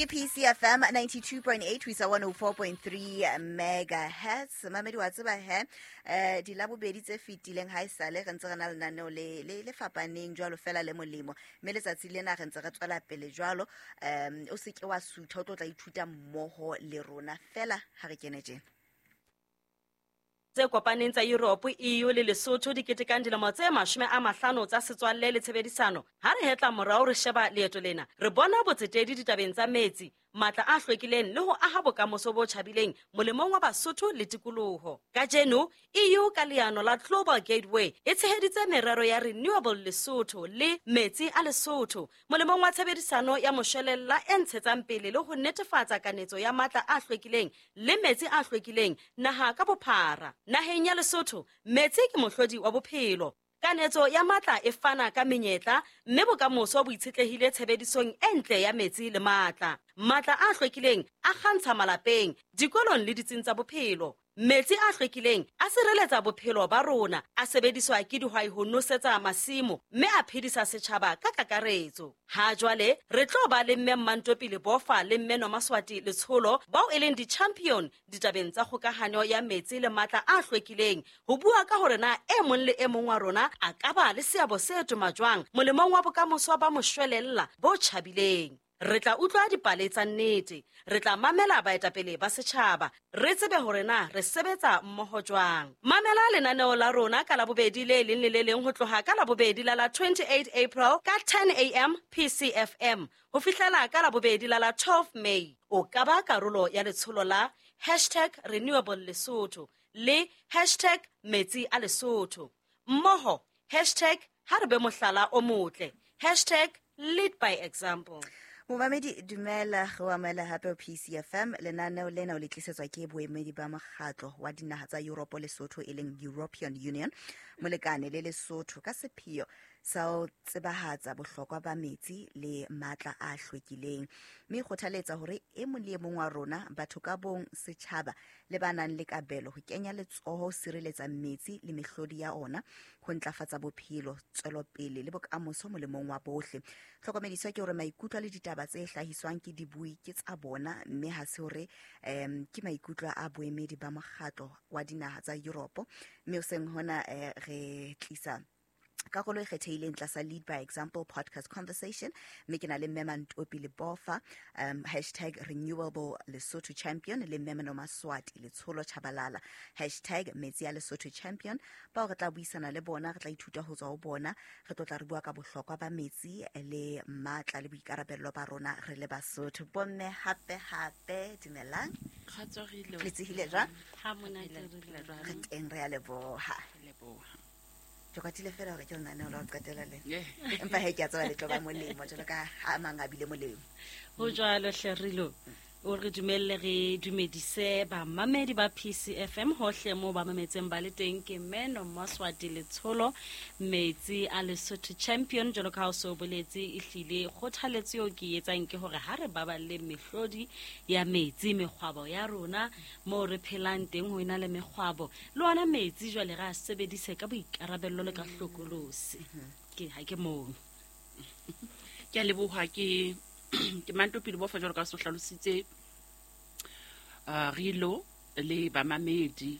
Ke PCFM 92.8 ho isa 104.3 megahertz. Mamedi wa tseba he, dilabobedi tse fetileng ha esale re ntse re na lenaneo le le le fapaneng jwalo fela le molemo, mme letsatsi lena re ntse re tswela pele jwalo. O se ke wa sutha, o tlo tla ithuta mmoho le rona fela ha re kene tjena. Tse kopaneng tsa Europe, EU le Lesotho di ketekang dilemo tse 50 tsa setswalle le tshebedisano. Ha re hetla morao re sheba leeto lena, re bona botsetedi ditabeng tsa metsi, matla a hlwekileng le ho aha bokamoso bo tjhabileng molemong wa Basotho le tikoloho. Kajeno, EU ka leano la Global Gateway e tsheheditse merero ya Renewable Lesotho le Metsi a Lesotho molemong wa tshebedisano ya moshwelella e ntshetsang pele le ho netefatsa kanetso ya matla a hlwekileng le metsi a hlwekileng naha ka bophara. Naheng ya Lesotho, metsi ke mohlodi wa bophelo. Kanetso ya matla e fana ka menyetla, mme bokamoso bo itshetlehile tshebedisong e ntle ya metsi le matla. Matla a hlwekileng a kgantsha malapeng, dikolong le ditsing tsa bophelo. Metsi a hlwekileng a sireletsa bophelo ba rona, a sebediswa ke dihwai ho nosetsa masimo, mme a phedisa setjhaba ka kakaretso. Ha jwale re tlo ba le Mme Mmantopi Lebofa le Mme Nomaswati Letsholo, bao e leng di-champion ditabeng tsa kgokahanyo ya metsi le matla a hlwekileng, ho bua ka hore na e mong le e mong wa rona a ka ba le seabo se toma jwang molemong wa bokamoso ba moshwelella bo tjhabileng. Re tla utlwa dipale tsa nnete, re tla mamela baetapele ba setjhaba, re tsebe hore na re sebetsa mmoho jwang. Mamela lenaneo la rona ka Labobedi le leng le le leng ho tloha ka Labobedi la la 28 April ka 10 AM PCFM ho fihlela ka Labobedi la la 12 May. O ka ba karolo ya letsholo la hashtag Renewable Lesotho le hashtag Metsi a Lesotho. Mmoho hashtag ha re be mohlala o motle, hashtag lead by example. Momamedi, dumela, re o amohela hape ho PCFM. Lenaneo lena o le tlisetswa ke boemedi ba mokgatlo wa dinaha tsa Europe Lesotho, e leng European Union, molekane le Lesotho, ka sepheo sa ho tsebahatsa bohlokwa ba metsi le matla a hlwekileng, mme e kgothaletsa hore e mong le e mong wa rona, batho ka bong, setjhaba le ba nang le kabelo, ho kenya letsoho ho sireletsa metsi le mehlodi ya ona, ho ntlafatsa bophelo, tswelopele le bokamoso molemong wa bohle. Hlokomediswa ke hore maikutlo le ditaba tse hlahiswang ke dibui ke tsa bona, mme ha se hore ke maikutlo a boemedi ba mokgatlo wa dinaha tsa Europe. Mme hoseng hona re tlisa karolo e kgethehileng tlasa Lead by Example podcast conversation, mme ke na le Mme Mantopi Lebofa, hashtag Renewable Lesotho Champion, le Mme Nomaswati Letsholo Chabalala, hashtag Metsi a Lesotho Champion, bao re tla buisana le bona, re tla ithuta ho tswa ho bona, re tlo tla re bua ka bohlokwa ba metsi le matla le boikarabello ba rona re le Basotho. Bomme, hape hape dumelang. Le tsehile jwang? Ha monate re le. Re teng, re a leboha. Ke kwatile fela hore ke lenaneo la ho qetela lena, empa he ke a tseba le tlo ba molemo jwalo ka ha a mang a bile molemo. Ho jwalo hle Rilo, o re dumelle re dumedise bamamedi ba PCFM hohle moo ba mametseng ba le teng. Ke Mme Nomaswati Letsholo, Metsi a Lesotho Champion. Jwalo ka ha o so boletse, ehlile kgothaletso eo ke e etsang ke hore ha re baballe mehlodi ya metsi, mekgwabo ya rona moo re phelang teng ho ena le mekgwabo, le ona metsi jwale re a sebedise ka boikarabello le ka hlokolosi. Ke ha ke moo. Ke a leboha, ke ke Mantopi Lebofa, jwalo ka so hlalositse, Rilo le bamamedi.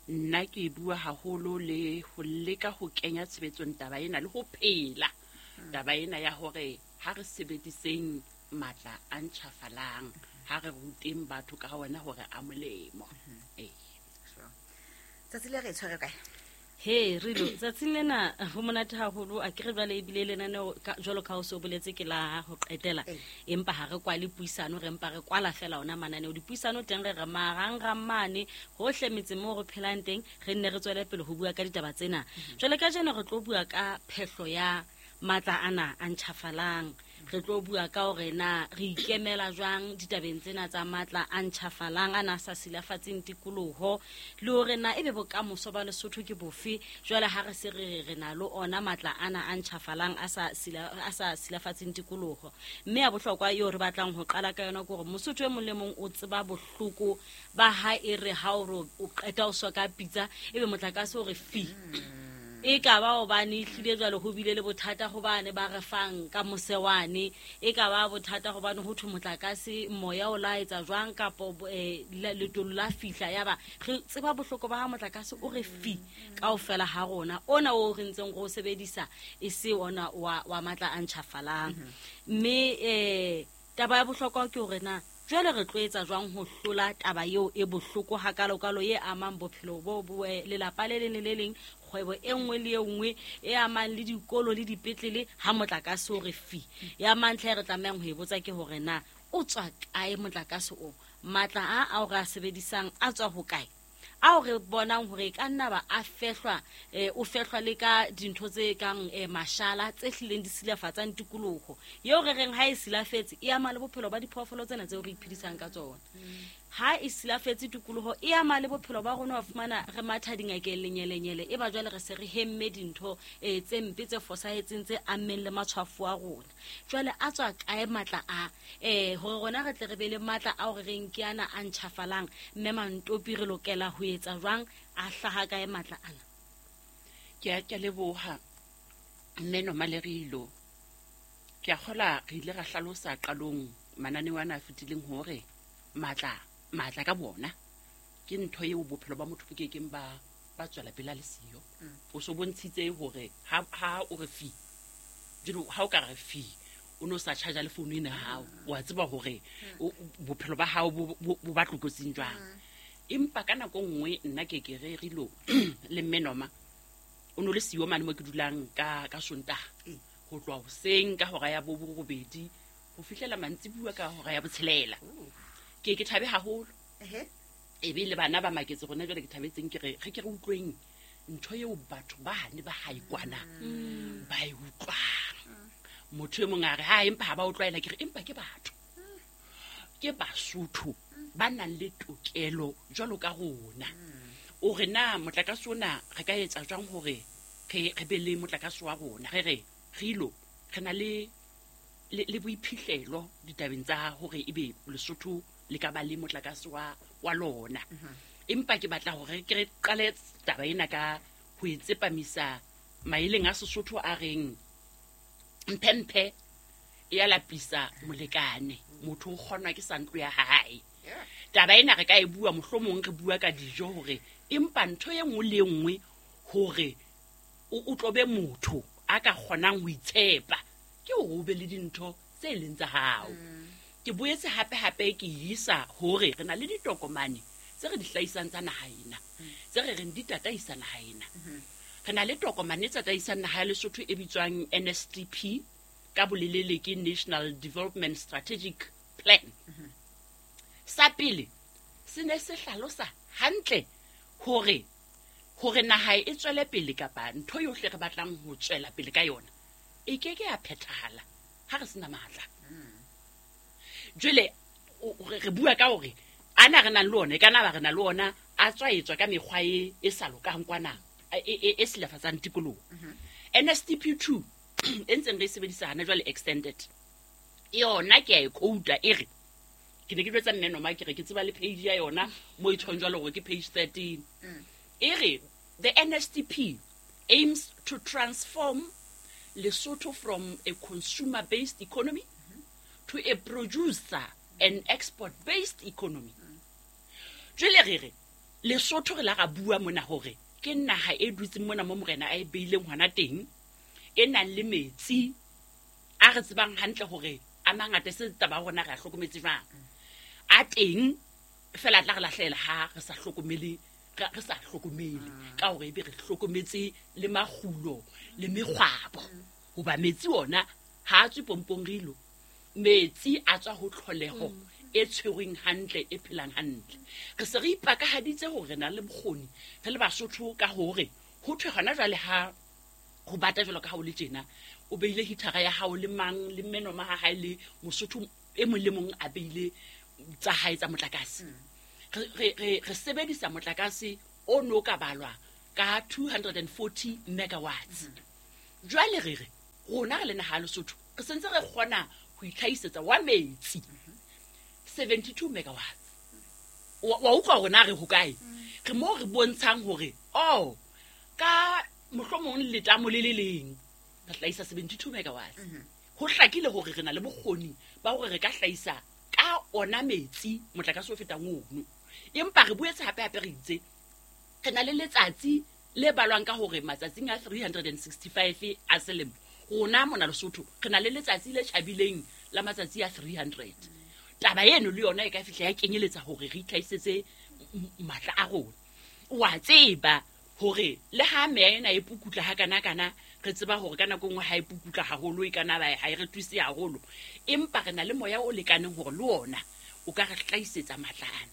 Nna ke bua haholo le ho leka ho kenya tshebetsong taba ena le ho phela taba ena ya hore ha re sebediseng matla a ntjhafalang, ha re ruteng batho ka ona hore a molemo. Ee. Tsatsi le re tshwere kae? He Rilo, tsatsing lena ho monate haholo. A ke re jwale ebile lenaneo jwalo ka ha o se o boletse ke la ho qetela, empa ha re kwale puisano, re mpa re kwala fela ona mananeo. Dipuisano teng re re marangrang mane hohle metseng moo re phelang teng, re nne re tswele pele ho bua ka ditaba tsena. Jwale kajeno re tlo bua ka phehlo ya matla ana a ntjhafalang. Re tlo bua ka hore na re ikemela jwang ditabeng tsena tsa matla a ntjhafalang ana a sa silafatseng tikoloho, le hore na ebe bokamoso ba Lesotho ke bofe jwale ha re se re re na le ona matla ana a ntjhafalang a sa a sa silafatseng tikoloho. Mme ya bohlokwa eo re batlang ho qala ka yona ke hore Mosotho e mong le mong o tseba bohloko ba ha e re ha o re o qeta o soka pitsa, ebe motlakase o re fi. E ka ba hobane ehlile jwale ho bile le bothata hobane ba re fang ka mose wane, e ka ba bothata hobane ho thwe motlakase moya o la etsa jwang kapo letolo la fihla, ya ba re tseba bohloko ba ha motlakase o re fi kaofela ha rona, ona o re ntseng re o sebedisa e se ona wa matla a ntjhafalang. Mme taba ya bohlokwa ke hore na jwale re tlo etsa jwang ho hlola taba eo e bohloko hakalokalo e amang bophelo bo lelapa le leng le le leng, kgwebo e nngwe le e nngwe e amang le dikolo le dipetlele ha motlakase o re fi. Ya mantlha e re tlamehang ho e botsa ke hore na o tswa kae motlakase o, matla a ao re a sebedisang a tswa hokae, ao re bonang hore e ka nna ba a fehlwa, o fehlwa le ka dintho tse kang mashala tse hlileng di silafatsang tikoloho eo re reng ha e silafetse e ama le bophelo ba diphoofolo tsena tseo re iphedisang ka tsona. Ha e silafetse tikoloho e ama le bophelo ba rona, wa fumana re matha dingakeng lenyelenyele, e ba jwale re se re hemme dintho tse mpe tse fosahetseng tse ammeng le matshwafo a rona. Jwale a tswa kae matla a hore rona re tle re be le matla ao re reng ke ana a ntjhafalang, mme Mantopi re lokela ho etsa jwang, a hlaha kae matla ana? Ke a leboha mme Nomalerilo. Ke a kgola re ile ra hlalosa qalong mananeo ana a fetileng hore matla ka bona ke ntho eo bophelo ba motho bo kekeng ba tswela pele a le siyo. O so bontshitse hore ha o re fi, jwale ha o ka re fi o no sa charge le phone ena hao, wa tseba hore bophelo ba hao bo ba tlokotsing jwang. Empa ka nako nngwe nna ke ke re rilo le mme Noma o no le siyo mane mo ke dulang ka Sontaha ho tloha hoseng ka hora ya 8 ho fihlela mantsibuya ka hora ya 6. Ke thabe haholo. E be le bana ba maketse rona jwale ke thabetseng ke re re ke re utlweng ntho eo batho ba ne ba hae kwana ba e utlwang. Motho e mong a re ha empa ha ba utlwaela, ke re empa ke batho, ke Basotho ba nang le tokelo jwalo ka rona. O re na motlakase ona re ka etsa jwang hore re be le motlakase wa rona? Re re rilo re na le boiphihlelo ditabeng tsa hore ebe Lesotho le ka ba le motlakase wa lona. Empa ke batla hore ke re qale taba ena ka ho e tsepamisa maeleng a Sesotho a reng mphemphe e a lapisa molekane, motho o kgonwa ke sa ntlo ya hae. Taba ena re ka e bua mohlomong re bua ka dijo hore empa ntho e nngwe le nngwe hore o tlobe motho a ka kgonang ho itshepa ke hore o be le dintho tse leng tsa hao. Ke boetse hape ke isa hore re na le ditokomane tse re di hlahisang tsa naha ena, tse re reng di tataisa naha ena. Re na le tokomane tse tataisang naha ya Lesotho e bitswang NSTP, ka bolelele ke National Development Strategic Plan. Sa pele se ne se hlalosa hantle hore naha e tswele pele kapa ntho yohle re batlang ho tswela pele ka yona e ke ke ya phethahala ha re sena matla. Jwale re bua ka hore ana re nang le ona, e kana ba re na le ona a tswaetswa ka mekgwa e sa lokang kwana e silafatsang tikoloho. NSTP 2 e ntseng re e sebedisa hana jwale extended, yona ke a e quota e re ke ne ke jwetsa mme Noma ke re ke tseba le page ya yona mo e tshwang jwalo hore ke page 13. E re the NSTP aims to transform Lesotho from a consumer-based economy to a producer and export-based economy. Jwale re re Lesotho re la ra bua mona hore ke naha e dutseng mona mo morena a e beileng hona teng, e nang le metsi a re tsebang hantle hore a mangata se taba rona re a hlokometse jwang. A teng fela tla re lahlela ha re sa hlokomele, re sa hlokomele ka hore ebe re hlokometse le makgulo le mekgwabo. Hoba metsi ona ha a tswe pompong rilo, metsi a tswa ho tlholeho e tshwerweng hantle, e phelang hantle. Re se re ipakahaditse hore re na le bokgoni re le Basotho ka hore ho thwe hona jwale ha ho bata jwalo ka ha o le tjena, o beile hitara ya hao le mang le mme Noma ha hae le Mosotho e mong le mong a beile tsa hae tsa motlakase. Re sebedisa motlakase o no ka balwa ka 240 megawatts. Jwale re re rona re le naha ya Lesotho re sentse re kgona ho itlhahisetsa wa metsi 72 megawatts. Wa utlwa hore na re hokae? Re mo re bontshang hore oh ka Mohlomong letamo le le leng re hlahisa 72 megawatts. Ho hlakile hore re na le bokgoni ba hore re ka hlahisa ka ona metsi motlakase o fetang ono. Empa re boetse hape hape re itse re na le letsatsi le balwang ka hore matsatsing a 365 a selemo rona mona Lesotho re na le letsatsi le tjhabileng la matsatsi a 300. Taba eno le yona e ka fihla ya kenyeletsa hore re itlhahisetse matla a rona. Wa tseba hore le ha meya ena e pukutla hakana-kana, re tseba hore ka nako e nngwe ha e pukutla haholo e kana ba ha e re thuse haholo, empa re na le moya o lekaneng hore le ona o ka re hlahisetsa matla ana.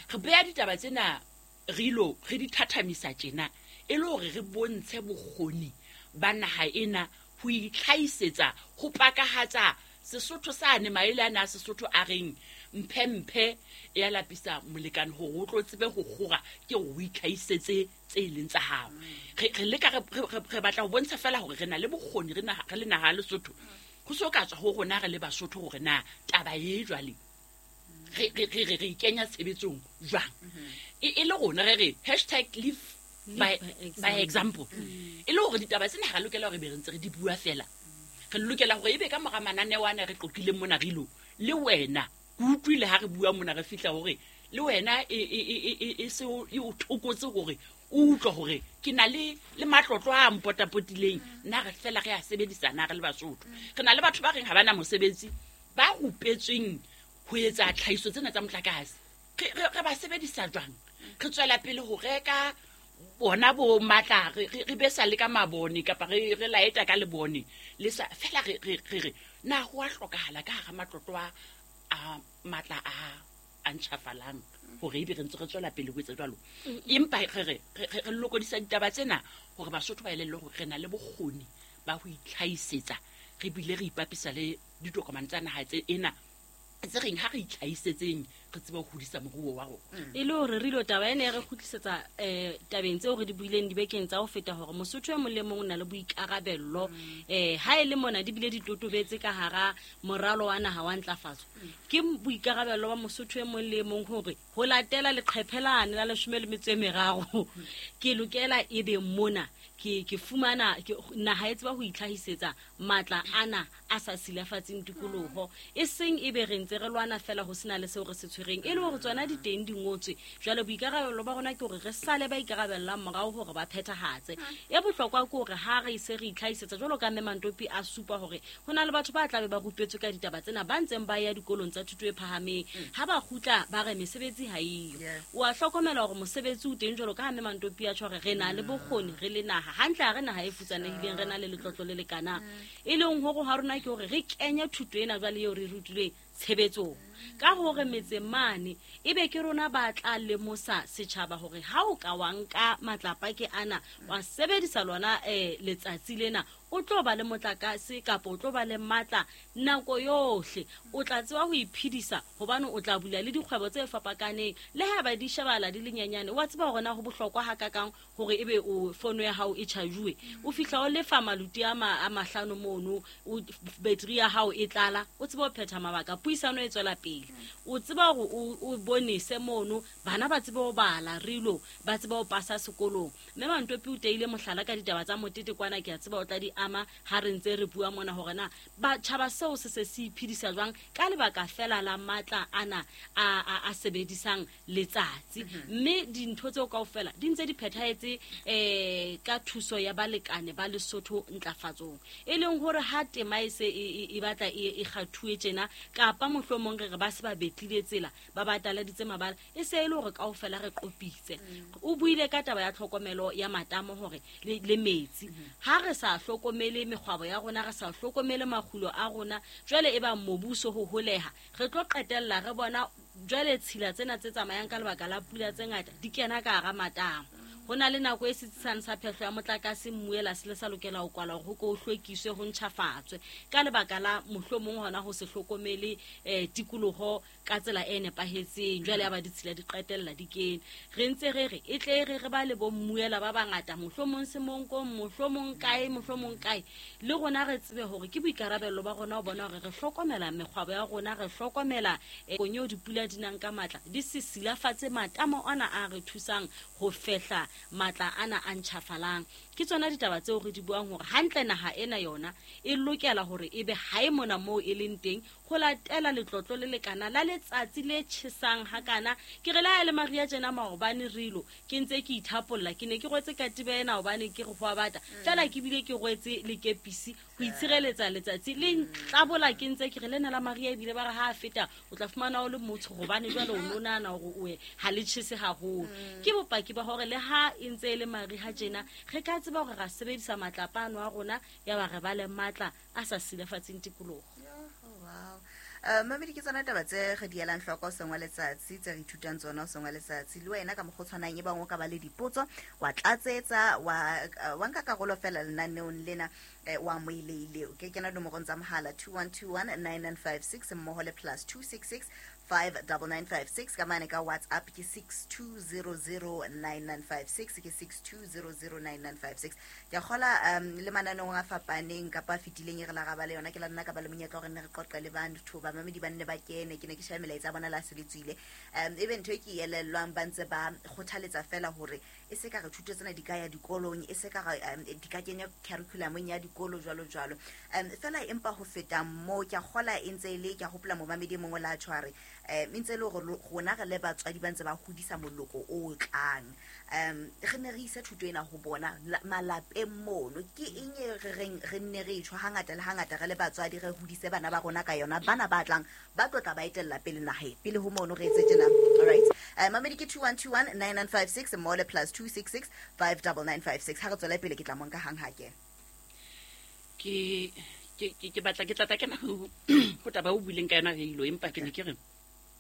Re beha ditaba tsena re ilo re di thathamisa tjena e le hore re bontshe bokgoni ba naha ena ho itlhahisetsa, ho pakahatsa Sesotho sane, maele ana a Sesotho a reng mphe mphe ya lapisa molekane hore o tlo tsebe ho kgora, ke hore o itlhahisetse tse leng tsa hao. Re leka re batla ho bontsha fela hore re na le bokgoni re le naha ya Lesotho. Ho so ka tswa ho rona re le Basotho hore na taba e jwale re kenya tshebetsong jwang. E le rona re re hashtag live by example. E le hore ditaba tsena ha re lokela hore be re ntse re di bua fela. Re lokela hore ebe ka mora mananeo ana re qoqileng mona re ilo le wena, ke utlwile ha re bua mona re fihla hore le wena e se e o thokotse hore o utlwe hore ke na le matlotlo a mpotapotileng, nna re fela re a sebedisa na re le Basotho. Re na le batho ba reng ha ba na mosebetsi, ba rupetsweng ho etsa tlhahiso tsena tsa motlakase. Re ba sebedisa jwang? Re tswela pele ho reka bona bo matla, re besa le ka mabone kapa re laeta ka lebone le sa fela re re na ho a hlokahala ka hara matlotlo a matla a ntjhafalang hore ebe re ntse re tswela pele ho etsa jwalo. Empa re lokodisa ditaba tsena hore Basotho ba elellwe hore re na le bokgoni ba ho itlhahisetsa, re bile re ipapisa le ditokomane tsa naha tse ena tse reng ha re itlhahisetseng re tsebe ho hodisa moruo wa rona. E le hore re ilo taba ena e re kgutlisetsa tabeng tseo re di buileng dibekeng tsa ho feta hore Mosotho e mong le mong o na le boikarabello. Ha e le mona di bile di totobetse ka hara moralo wa naha wa ntlafatso. Ke boikarabello ba Mosotho e mong le mong hore ho latela leqephe lane la 13 ke lokela ebe mona ke fumana naha e tseba ho itlhahisetsa matla ana a sa silafatseng tikoloho, e seng ebe re ntse re lwana fela ho sena le seo re se tshwereng, e le hore tsona di teng di ngotswe. Jwale boikarabelo ba rona ke hore re sale ba ikarabellang morao hore ba phethahatse. E bohlokwa ke hore ha re se re itlhahisetsa jwalo ka Mme Mantopi a supa hore ho na le batho ba tlabe ba rupetswe ka ditaba tsena ba ntseng ba ya dikolong tsa thuto e phahameng, ha ba kgutla ba re mesebetsi ha eyo. O a hlokomela hore mosebetsi o teng jwalo ka ha Mme Mantopi a tjho hore re na le bokgoni re le naha hantle, ha re naha e futsanehileng, re na le letlotlo le lekanang. E leng hore ha rona ke hore re kenye thuto ena jwale eo re rutilweng tshebetsong, ka hore metse mane ebe ke rona ba tla lemosa setjhaba hore ha o ka wa nka matlapa ke ana wa sebedisa lona letsatsi lena, o tlo ba le motlakase kapa o tlo ba le matla nako yohle, o tla tseba ho iphedisa hobane o tla bula le dikgwebo tse fapakaneng, le ha ba di shebala di le nyenyane. Wa tseba hore na ho bohlokwa hakakang hore ebe o fono ya hao e charge-uwe, o fihla o lefa maluti a mahlano mono, o battery ya hao e tlala, o tseba ho phetha mabaka, puisano e tswela pele, o tseba hore o bonese mono, bana ba tsebe ho bala rilo, ba tsebe ho pasa sekolong. Mme Mantopi o teile mohlala ka ditaba tsa motete kwana, ke a tseba o tla di ama ha re ntse re bua mona hore na batjhaba seo se se se iphedisa jwang ka lebaka fela la matla ana a sebedisang letsatsi. Mme dintho tseo kaofela di ntse di phethahetse ka thuso ya balekane ba Lesotho ntlafatsong, e leng hore ha tema e se e batla e kgathuwe tjena, kapa mohlomong re re ba se ba betlile tsela, ba bataladitse mabala, e se e le hore kaofela re qopitse. O buile ka taba ya tlhokomelo ya matamo hore le metsi, ha re sa hlokomele mekgwabo ya rona, re sa hlokomele makgulo a rona, jwale e ba mobuso ho holeha, re tlo qetella re bona jwale tshila tsena tse tsamayang ka lebaka la pula tse ngata di kena ka hara matamo. Ho na le nako e setsisang sa phehlo ya motlakase mmuela se le sa lokela ho kwalwa hore ho ko hlwekiswe, ho ntjhafatswe ka lebaka la mohlomong hona ho se hlokomele tikoloho ka tsela e nepahetseng. Jwale ya ba ditshila di qetella di kene. Re ntse re re e tle re re ba le bo mmuela ba bangata, mohlomong Semonkong, mohlomong kae, mohlomong kae, le rona re tsebe hore ke boikarabello ba rona ho bona hore re hlokomela mekgwabo ya rona, re hlokomela konyeo dipula di nang ka matla, di se silafatse matamo ana a re thusang ho fehla matla ana a ntjhafalang. Ke tsona ditaba tseo re di buang hore hantle naha ena yona e lokela hore ebe ha e mona moo e leng teng ho latela letlotlo le lekana la letsatsi le tjhesang hakana. Ke re le ha e le mariha tjena maobane rilo ke ntse ke ithapolla, ke ne ke rwetse katiba ena hobane ke re ho a bata, fela ke bile ke rwetse le kepisi ho itshireletsa letsatsi le ntlabola. Ke ntse ke re lena la mariha ebile ba re ha a feta o tla fumana o le motsho hobane jwale o no nahana hore o ha le tjhese haholo. Ke bopaki ba hore le ha e ntse e le mariha tjena re ka tseba hore ra sebedisa matlapa ano a rona ya ba re ba le matla a sa silafatseng tikoloho. Wow. Mamedi, ke tsona taba tse re di elang hloko hoseng wa letsatsi, tse re ithutang tsona hoseng wa letsatsi. Le wena ka mokgwa o tshwanang e bang o ka ba le dipotso, wa tlatsetsa, wa nka karolo fela lenaneong lena, wa amohelehile. O ke kena nomorong tsa mohala 2121 9956 mmoho le plus 266 59956 ka mane ka WhatsApp ke 62009956, ke 62009956. Ke a kgola le mananeong a fapaneng kapa a fetileng e re la ra ba le yona, ke la nna ka ba le monyetla hore nne re qoqe le batho bamamedi ba nne ba kene. Ke ne ke sheba melaetsa ya bona le ha se le tswile, ebe ntho e ke e elellwang ba ntse ba kgothaletsa fela hore e se ka re thuto tsena di ka ya dikolong, e se ka re di ka kenya curriculumong ya dikolo jwalo jwalo. Fela empa ho feta moo ke a kgola e ntse e le, ke a hopola momamedi e mongwe la tshware, e ntse e le hore rona re le batswadi ba ntse ba hodisa moloko o tlang, re ne re ise thuto ena ho bona malapeng mono. Ke eng e re reng re nne re tjho hangata le hangata re le batswadi re hodise bana ba rona ka yona, bana ba tlang ba tlo tla ba etella pele naheng pele ho mono re etse tjena. All right, mamedi ke 2121 9956 mmoho le plus 266 59956. Ha re tswele pele ke tla monka hang ha ke Ke batla ke tlatla kena ho taba o buileng ka yona re ilo, empa ke ne ke re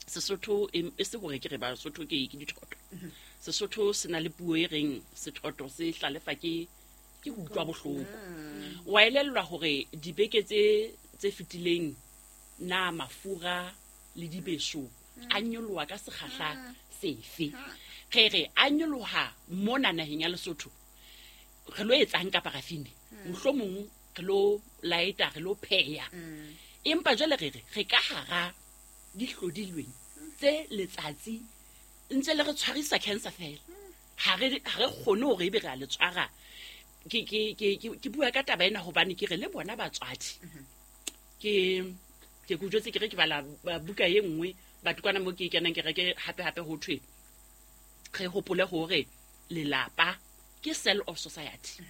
Sesotho e se hore ke re Basotho ke dithoto. Sesotho se na le puo e reng sethoto se hlalefa ke ho utlwa bohloko. Wa elellwa hore dibeke tse fetileng na mafura le dibeso a nyoloha ka sekgahla sefe? Re re a nyoloha mona naheng ya Lesotho, re lo etsang ka parafine? Mohlomong re lo laeta, re lo pheha, empa jwale re re re ka hara dihlodilweng tse letsatsi ntse le re tshwarisa cancer fela, ha re kgone hore ebe re a le tshwara. Ke bua ka taba ena hobane ke re le bona batswadi, ke ke jwetse ke re ke bala buka e nngwe batho kwana mo ke kenang kereke hape hape ho thwe re hopole hore lelapa ke cell of society,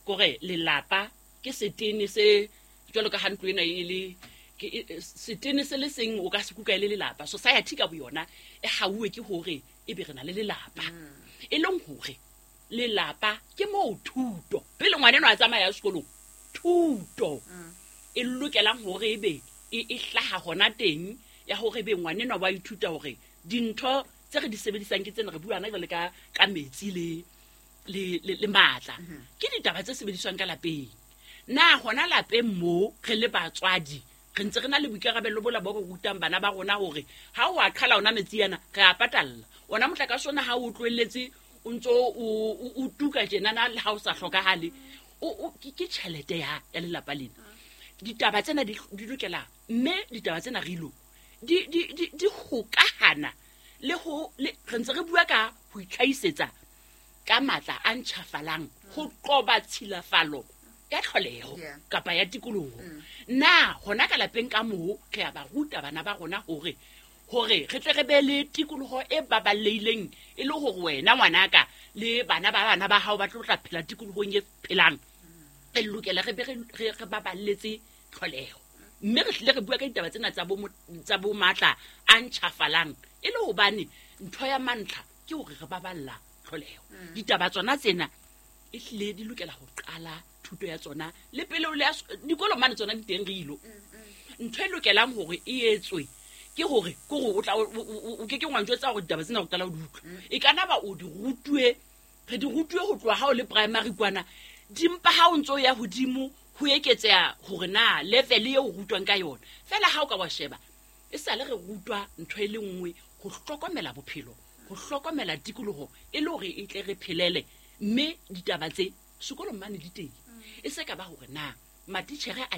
kore lelapa ke setene se jwalo ka ha ntlo ena e le setene se le seng o ka se kuka e le lelapa. Society ka boyona e hauwe ke hore ebe re na le lelapa, e leng hore lelapa ke moo thuto pele ngwana enwa a tsamaya sekolong, thuto e lokelang hore ebe e hlaha hona teng ya hore ebe ngwana enwa wa ithuta hore dintho tse re di sebedisang ke tsena re buana jwale ka metsi le matla, ke ditaba tse sebediswang ka lapeng. Na hona lapeng mo re le batswadi re ntse re na le boikarabelo bola bo re rutang bana ba rona hore ha o a qhala ona metsi ana re a patalla ona motlakase ona ha o tlohelletse o ntso o tuka tjenana le ha o sa hlokahale, ke tjhelete ya lelapa lena. Ditaba tsena di lokela, mme ditaba tsena re ilo di hokahana le ho re ntse re bua ka ho itlhahisetsa ka matla a ntjhafalang ho qoba tshilafalo ya tlholeho kapa ya tikoloho. Na hona ka lapeng ka moo re a ba ruta bana ba rona hore re tle re be le tikoloho e baballehileng, e le hore wena ngwanaka le bana ba bana ba hao ba tlo tla phela tikolohong e phelang. Re lokela re be re baballetse tlholeho, mme re hlile re bua ka ditaba tsena tsa bo matla a ntjhafalang e le hobane ntho ya mantlha ke hore re baballa tlholeho. Ditaba tsona tsena e hlile di lokela ho qala thuto ya tsona le pele o le dikolo mane tsona di teng re ilo. Ntho e lokelang hore e etswe ke hore ke hore o tla o ke ke ngwa njwetsa hore ditaba tsena o qala o di utlwa. E ka na ba o di rutuwe, re di rutuwe ho tloha ha o le primary kwana, dimpa ha o ntso ya hodimo ho eketseha hore na level eo o rutwang ka yona. Fela ha o ka wa sheba e sale re rutwa ntho e le nngwe, ho hlokomela bophelo, ho hlokomela tikoloho e le hore e tle re phelele, mme ditaba tse sekolong mane di teng. E se ka ba hore na matitjhere a